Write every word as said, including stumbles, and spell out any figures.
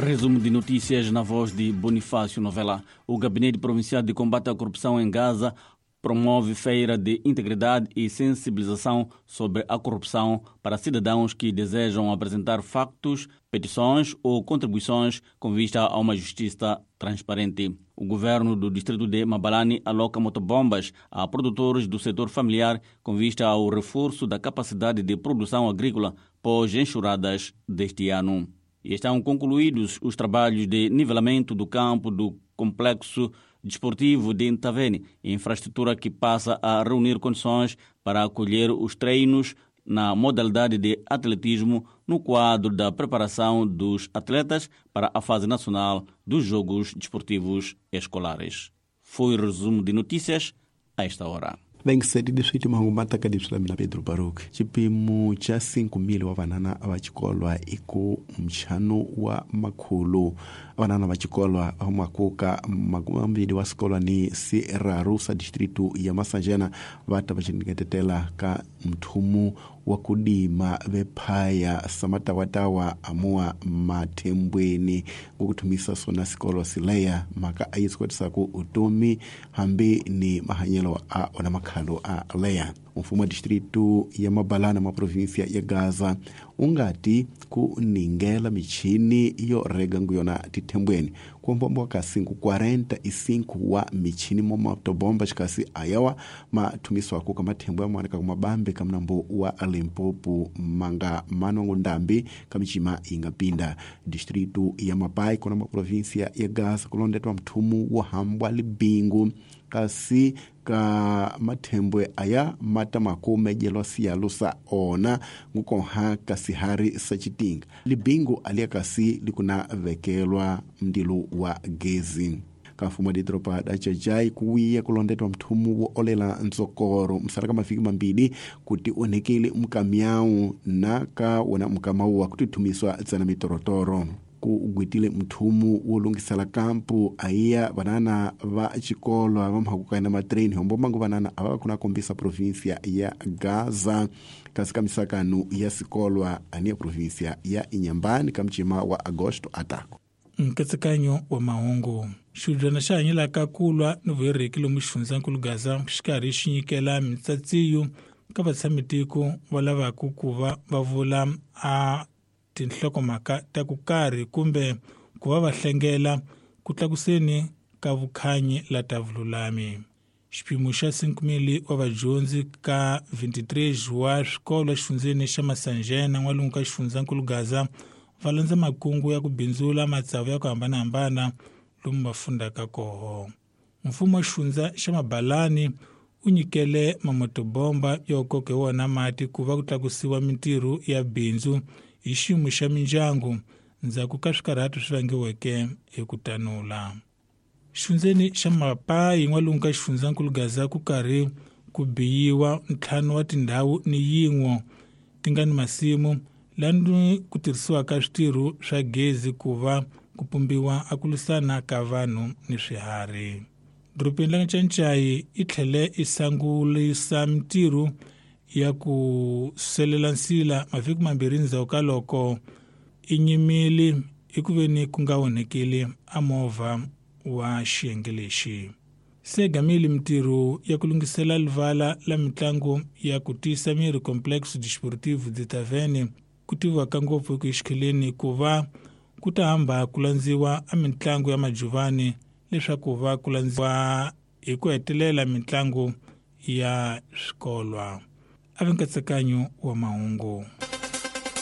Resumo de notícias na voz de Bonifácio Novela. O Gabinete Provincial de Combate à Corrupção em Gaza promove feira de integridade e sensibilização sobre a corrupção para cidadãos que desejam apresentar factos, petições ou contribuições com vista a uma justiça transparente. O governo do distrito de Mabalane aloca motobombas a produtores do setor familiar com vista ao reforço da capacidade de produção agrícola pós-enxurradas deste ano. E estão concluídos os trabalhos de nivelamento do campo do complexo desportivo de Ntavene, infraestrutura que passa a reunir condições para acolher os treinos na modalidade de atletismo no quadro da preparação dos atletas para a fase nacional dos Jogos Desportivos Escolares. Foi o resumo de notícias a esta hora. Vengiseti leswi timhangu mataka leswi la mina Pedro Baruch xipimo xa cinco mil wa vanana va xikolwa i ku mchano wa makhulu vanana va xikolwa va makuka makumbili wa xikolwa ni siraru sa distritu ya Masanjena va ta va xiniketetela ka mthumu wa kudima vephaya samatawatawa amua mathembweni ngokuthumisa sona sikolo sileya maka a yi swi utomi hambi ni mahanyelo a ona makhalo a leya. Mfumo wa distritu ya Mabalana ma provinsia ya Gaza ungati ku ningela michini yo rega nguyona tithembweni kumbombo ka cinco quarenta e cinco wa michini mo motobomba xikasi ayawa mathumiswa ku ka mathembo ya mwana ka mabambe ka mnambo wa Limpopo manga manongo ndambi ka michima ingapinda distritu ya Mapai kona ma provinsia ya Gaza kulondetwa mthumu wa hambwa libingu kasi ka mathembwe aya mata makume jelwa siyalo sa ona ngukonha kasihari sa chitinga libingu alia kasi likuna vekelwa mdilu wa gezi ka mfumo didropa da Jajai kuwiya kulondetwa mthumu wo olela ntsokoro msala ka mavhiki mambili kuti onhekele mkamyau na ka wona mkamau wa kutithumiswa tsana mitorotoro ku gwitile mthumu wo lungisela kampu aiya vanana va xikolwa va mhakuka na matrain hombo mangu vanana ava kuna kombisa provinsia ya Gaza kasi ka misakano ya sikolwa ani ya provinsia ya Inyambani ka mchima wa Agosto atako. Nkatsakanyo wa mahungu xidyana xa hanyelaka kulwa ni vuyereki lomu xifundzankulu Gaza xikarhi xi nyikela mitsatsiyo ka vatshamitiko va lavaka ku va va vula a tinhlokomhaka ta ku karhi kumbe ku va va hlengela ku tlakuseni ka vukhanyi la ta vululami. Xipimo xa cinco mil wa vadyondzi ka vinte e três wa swikolo exifundzeni xa Masanjena n'walungu ka xifundzankulu Gaza va landza makungu ya ku bindzula matsavu ya ku hambanahambana lomu va fundaka koho. Mfumo wa xifundza xa Mabalani u nyikele mamotobomba yo koka hi wona mati ku va ku tlakusiwa mintirho ya bindzu hi xiyimo xa mindyangu ndzhaku ka swikarhato swi vangiweke hi ku tanula. Xifundzeni xa Mapai n'walungu ka xifundzankulu Gaza ku karhi ku biyiwa ntlhanu wa tindhawu ni yin'we ti nga ni masimu lani ku tirhisiwaka switirho swa gezi ku va ku pumbiwa a ku lwisana ka vanhu ni swiharhi. Dorobeni la Ncancai i tlhele i sangulisa mintirho ya ku selela nsila mavhiki mambirhi ndzhaku ka loko i nyimile eku veni ku nga onhekeli a movha wa xiyenge lexi. Se gamile mintirho ya ku lunghisela livala la mitlangu ya ku tiyisa miri Complexo Desportivo de Tavene ku tiviwaka ngopfu eku exikheleni ku va ku ta hamba ku landziwa a mitlangu ya majuvani leswaku va ku landziwa hi ku hetelela mitlangu ya swikolwa. A vi nkatsakanyo wa mahungu.